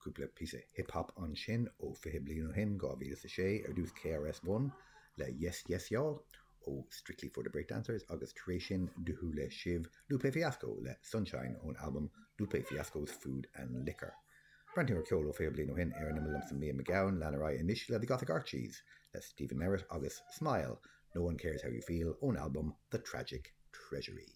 Cúpla píosa hip hop ansin ó 20 bliain ó shin, 2006, ar dtús KRS-One le Yes Yes Y'all ó Strictly for the Breakdancers agus tar éis sin do chuala sibh Lupe Fiasco le Sunshine ón albam Lupe Fiasco's Food and Liquor. Breathnú ar cheol ó 20 bliain ó shin ar an Imeall liomsa Liam Mac Gabhann, lean ar aghaidh anois le The Gothic Archies le Stephin Merritt agus Smile, No One Cares How You Feel ón albam The Tragic Treasury.